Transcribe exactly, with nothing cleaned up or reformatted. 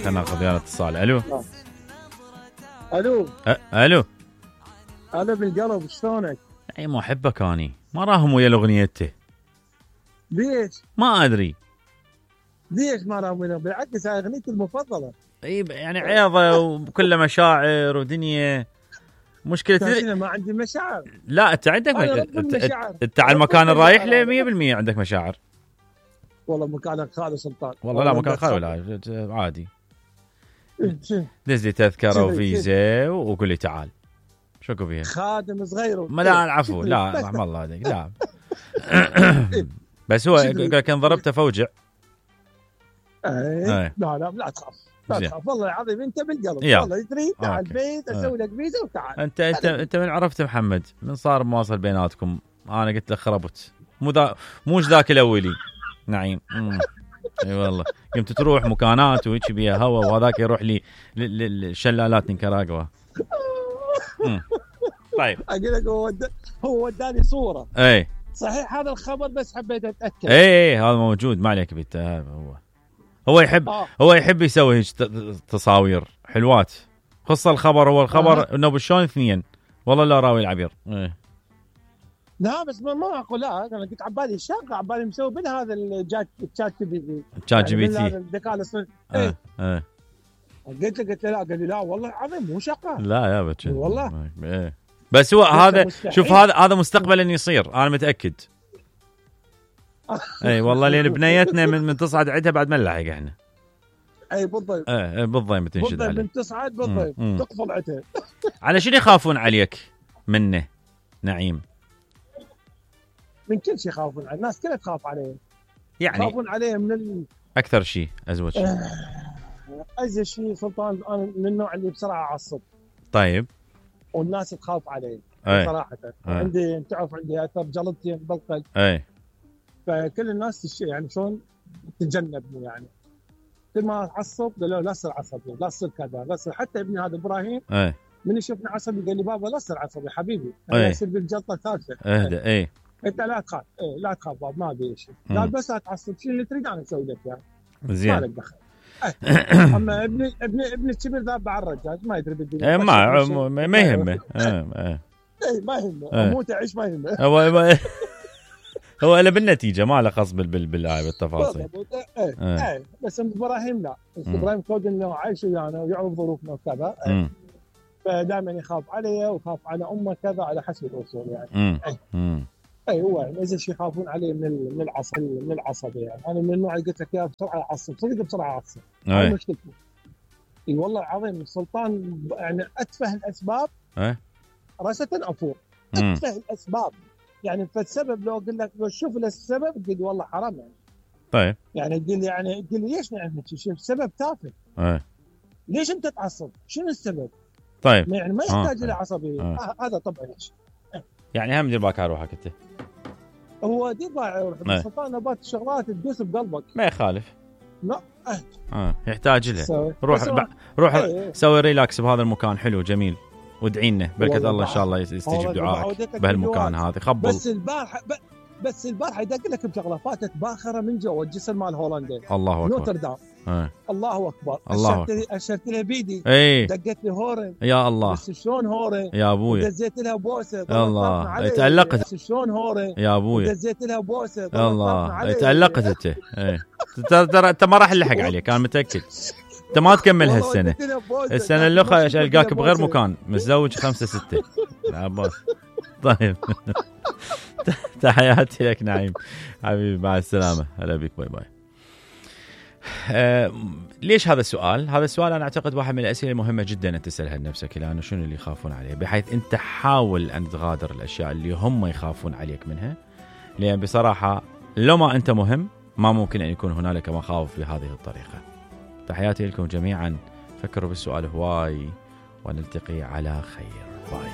خلينا ناخذ يلا اتصال. الو الو أ... الو انا بالقلب شلونك؟ اي ما احبك اني ما راهم ويا الاغنيته. ليش؟ ما ادري ليش ما راهم ويا؟ بالعكس هاي اغنيتي المفضله. اي يعني عياضه وكله مشاعر ودنيا. مشكلة تدري ما عندي مشاعر. لا انت عندك مشاعر. انت على المكان الرايح له مية بالمية عندك مشاعر. والله مكانك خالي سلطان. والله لا مكان خالي ولا عادي. دز لي تذكره وفيزا وقول لي تعال. شو اكو فيها؟ خادم صغير. ما لا العفو لا رحم الله عليك لا. بس هو كان ضربته فوجع. ايه لا لا لا تخاف لا تخاف والله العظيم انت بالقلب. والله تدري تعال البيت اسوي لك فيزا وتعال. انت انت انت من عرفت محمد من صار مواصل بيناتكم. انا قلت له خربت مو ذا موش ذاك الاولي نعيم. اي والله قمت تروح مكانات وهيك بيها هوا وهذاك يروح لي للشلالات نيكاراغوا. طيب اقول لك هو هو وداني صوره. اي صحيح هذا الخبر بس حبيت اتاكد. اي هذا موجود ما عليك بيت. هو هو يحب آه. هو يحب يسوي هيك تصاوير حلوات. خص الخبر هو الخبر آه. انه بشلون اثنين والله لا راوي العبير. ايه لا بس ما ما اقول لا انا قلت عبالي الشاقه عبالي مسوي من هذا الجات تشات جي بي تي. تشات جي بي تي الذكاء الاصطناعي. ايه اه قلت له قلت له لا قال لي لا والله عظيم مو شقه. لا يا بتش والله ايه بس هو هذا شوف هذا هذا مستقبلا يصير انا متاكد. اي والله لان بنيتنا من, من تصعد عندها بعد ما نلحق احنا. اي بالضبط ايه بالضبط بتنشد عليه من تصعد بالضبط تقفل عتها. على شنو يخافون عليك منه نعيم؟ من كل شيء يخافون عليه الناس كلها تخاف عليه يعني يخافون عليه من ال... اكثر شيء ازوج شيء ازوج شيء سلطان انا من النوع اللي بسرعه اعصب. طيب والناس تخاف عليه صراحه. عندي تعرف عندي اثر جلطتي بالقلب. اي فكل الناس يعني شلون تتجنبني يعني كل ما اتعصب قالوا لا تصير عصبي لا تصير كذا لا تصير. حتى ابني هذا ابراهيم اي من يشوفني عصبي قال لي بابا لا تصير عصبي حبيبي انا يصير بالجلطه الثالثه. اهدى اي قلت لا تخاف ايه لا تخاف بابا ما ابي شيء لا بس اتعصب شيء اللي تريد انا اسوي لك اياه يعني. زين ما لك دخل. اما ابني ابني ابني الكبير ذاب على الرجال ما يدري بالدنيا. ما ما يهمه. اي ما يهمه اموت اعيش ما يهمه. هو هو له بالنتيجه ما له خص بال بالآية بالتفاصيل. ايه ايه بس ابراهيم لا ابراهيم كود انه عايش ويانا ويعرف ظروفنا وكذا. فدائما يخاف علي ويخاف على امه كذا على حسب الاصول يعني. اي اي هو يعني اذا شيء يخافون عليه من من العصب من العصبيه يعني. انا من النوع اللي قلت لك اياه بسرعه اعصب صدق بسرعه اعصب. هاي مشكلتي. اي والله العظيم السلطان يعني اتفه الاسباب ايه راسه افور اتفه الاسباب يعني. فالسبب لو اقول لك لو شوف السبب تقول لي والله حرام يعني. طيب يعني تقول لي يعني تقول لي ليش نعمل شيء سبب تافه. ايه ليش انت تعصب شنو السبب؟ طيب يعني ما يحتاج الى عصبيه. آه. هذا طبعا يعني هم دير بالك على روحك انت. هو دير بالك على روحك السلطان نبات الشغلات تدوس بقلبك ما يخالف. لا اه, آه. يحتاج لها روح ب... روح ايه. سوي ريلاكس بهذا المكان حلو جميل وادعي لنا بركه الله ان شاء الله يستجيب دعائك بهالمكان هذا. خبل بس البارحه ب... بس البارحه يدق لك بشغله فاتت باخره من جوا الجسر مال هولندا. الله اكبر نوتردام. اه. الله اكبر الله اشرت اشرت لها بيدي. ايه. دقت لي هورن يا الله بس شلون هورن يا ابوي دزيت لها بوسه. الله تعلقت شلون هورن يا ابوي دزيت لها بوسه. الله تعلقت انت. ايه ترى انت ما راح نلحق عليك انا متاكد. انت ما تكمل هالسنه السنه اللي القاك بغير مكان متزوج خمسة ستة عباس. طيب تحياتي لك نعيم حبيبي مع السلامه هلا بك باي باي. آه ليش هذا السؤال؟ هذا السؤال انا اعتقد واحد من الاسئله المهمه جدا ان تسالها لنفسك لانه شنو اللي يخافون عليه بحيث انت حاول ان تغادر الاشياء اللي هم يخافون عليك منها. لان بصراحه لو ما انت مهم ما ممكن ان يكون هنالك مخاوف بهذه الطريقه. تحياتي لكم جميعا. فكروا بالسؤال هواي ونلتقي على خير. باي.